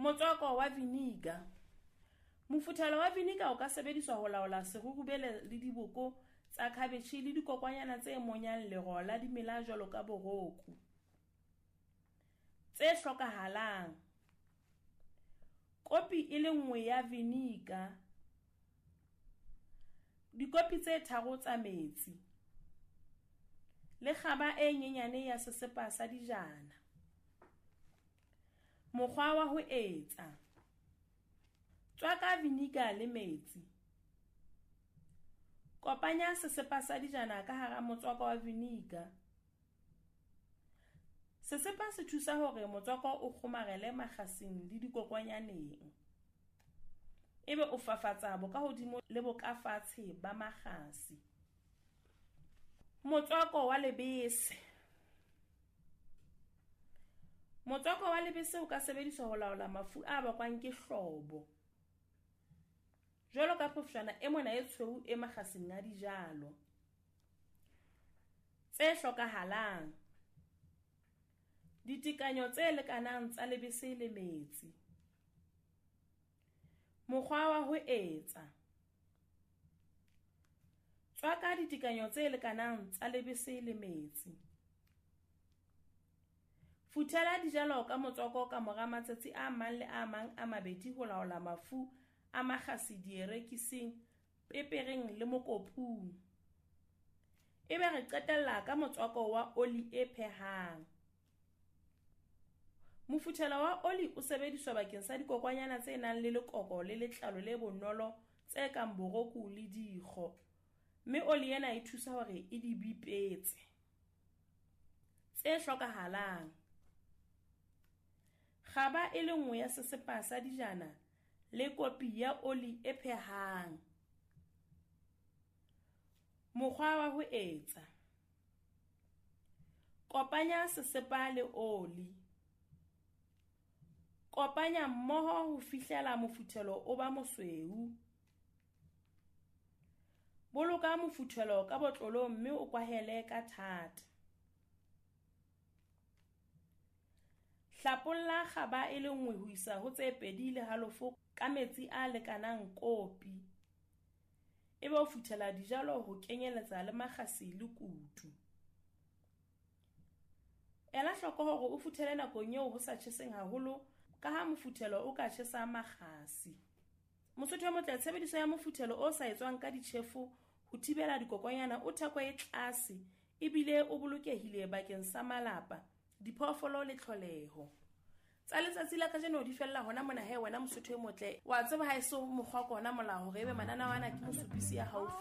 Motswako wa vinegar. Mofuthelo wa vinegar o ka sebediswa ho laola serurubele le diboko tsa khabetjhe le dikokwanyana tse monyang lero la dimela jwalo ka boroku. Tse hlokahalang: Kopi e le nngwe ya vinegar, dikopi tse 3 tsa metsi le kgaba e nyenyane ya sesepa sa dijana. Mokgwa wa ho etsa: Tswaka vinegar le metsi. Kopanya sesepa sa dijana ka hara motswako wa vinegar. Sesepa se thusa hore motswako o kgomarele makgasing le dikokwanyaneng. Ebe o fafatsa bokahodimo le bokafatshe ba makgasi. Motswako wa lebese. Motswako wa lebese o ka sebediswa ho laola mafu a bakwang ke hlobo, jwalo ka phofshwana e mona e tshweu e makgasing a dijalo. Tse hlokahalang: Ditekanyo tse lekanang tsa lebese le metsi. Mokgwa wa ho etsa: Tswaka ditekanyo tse lekanang tsa lebese le metsi. Futhela dijalo ka motswako ka mora matsatsi a mang le a mang a mabedi ho laola mafu a makgasi dierekising, pepereng le mokopung. Ebe re qetella ka motswako wa oli e phehang. Mofuthelo wa oli o sebediswa bakeng sa dikokwanyana tse nang le lekoko le letlalo le bonolo tse kang boroku le dikgo, mme oli ena e thusa hore e di bipetse. Tse hlokahalang: Kgaba e le nngwe ya sesepa sa dijana le kopi ya oli e phehang. Mokgwa wa ho etsa: Kopanya sesepa le oli. Kopanya mmoho ho fihlela mofuthelo o ba mosweu. Boloka mofuthelo ka botlolong mme o kwahele ka thata. Hlapolla kgaba e le nngwe ho isa ho tse 2.5 ka metsi a lekanang kopi. Ebe o futhela dijalo ho kenyeletsa le makgasi le kutu. Ela hloko hore o futhele nakong eo ho sa tjheseng haholo ka ha mofuthelo o ka tjhesa makgasi. Mosotho e motle, tshebediso ya mofuthelo o sa etswang ka ditjhefo ho thibela dikokwanyana o theko e tlase ebile o bolokehile bakeng sa malapa, diphoofolo le tlholeho. Tsa letsatsi la kajeno di fella hona mona he wena mosotho e motle. Wa tseba ha eso mokgwa ke ona molao hore ebe mananeo ana ke mosupisi ya haufi.